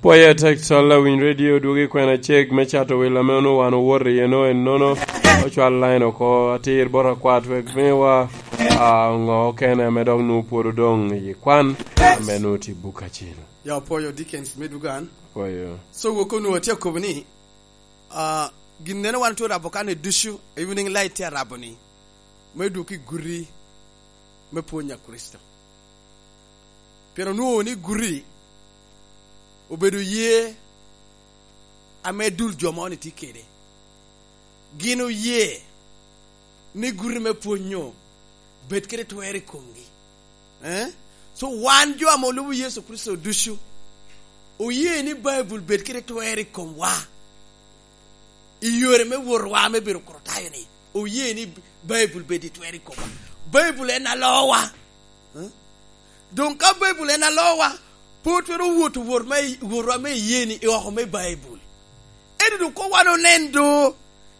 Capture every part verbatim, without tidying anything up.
Pwoyo atek, Calla Winy Radio, dwogo i kwena cek me cato wil ame onwoŋo wan owoto iye no ennono. Ocwal line oko atir bot akwat wek miwa, a, ŋo okene ame dok nwoŋo pwod odoŋ i kwan, ame nwoŋo tye buk acel. Ya, opwoyo Dickens me Dugan. Opwoyo. So, wok onwoŋo atye akobo ni, a, gin neno wan otye rabo kan i ducu, Evening Light tye arabo ni, me dwogo i guti me pwony a Kricito. Pien onwoŋo ni guti obedo ye ame dul jo moni tye kede. Gin oye ni guti me pwony-nyu bed kede twer i komgi. Eh? So, wan jo ame olubo Yecu Kricito ducu, oye ni Baibul bed kede twer i komwa. I yore me wotowa me bedo Kricitayo-ni, oye ni Baibul bed i twer i komwa. Baibul en alowa. Eh? Doŋ ka Baibul en alowa, pe otwero woto wot me, wotwa me iyee-ni i oko me Baibul. Ento doŋ koŋ wan onen do,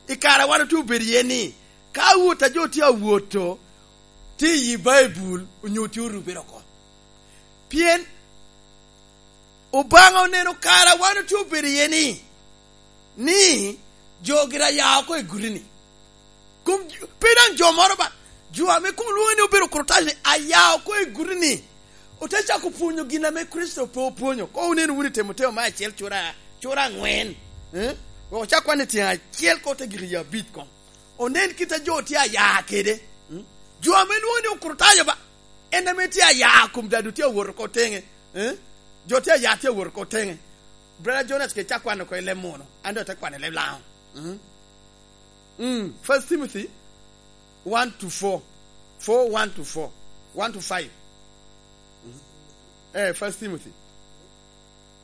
i kare a wan otye obedo iye-ni, ka wot a jo tye awoto, tye i yi Baibul, onyo tye orubere oko. Pien Obaŋa oneno kare a wan otye obedo iye-ni, ni jo gira ya oko i guti-ni. Kom, pe daŋ jo moro ba, jo ame koŋ lwoŋo ni obedo Kricitayo-ni, aya oko i guti-ni, ote cako pwonyo gin ame Kricito pe opwonyo. Koŋ wunen wunu i Temoteo me acel cura, cura aŋwen. Eh? Wek ocak kwan i tyeŋ acel koŋ te gik i abic koŋ. Onen kit a jo tye aya kede. Mm? Jo ame lwoŋo ni Okricitayo ba, en ame tye aya kom dado tye awot oko teŋe. Eh? Jo tye aya tye awot oko teŋe. Brother Jonas ke cak kwano oko i leb muno, an doŋ ate kwano i leb Laŋo. Mm? Mm. First Timothy one to four. Four, one to four. One to five. Mm. Eh, First Timothy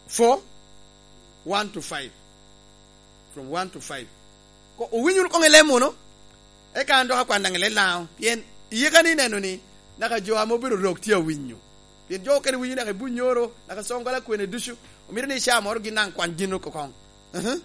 four, one to five. From one to five. Ko, owinyo wunu koŋ i leb muno? Eka an dok akwan daŋ i leb Laŋo, pien iyeka ni ineno ni, naka jo ame obedo rok tye awinyo. Pien jo okene winyo naka i Bunyoro, naka Soŋgola kwene ducu, omito ni i caa moro gin daŋ kwan gin oko koŋ. Mhm.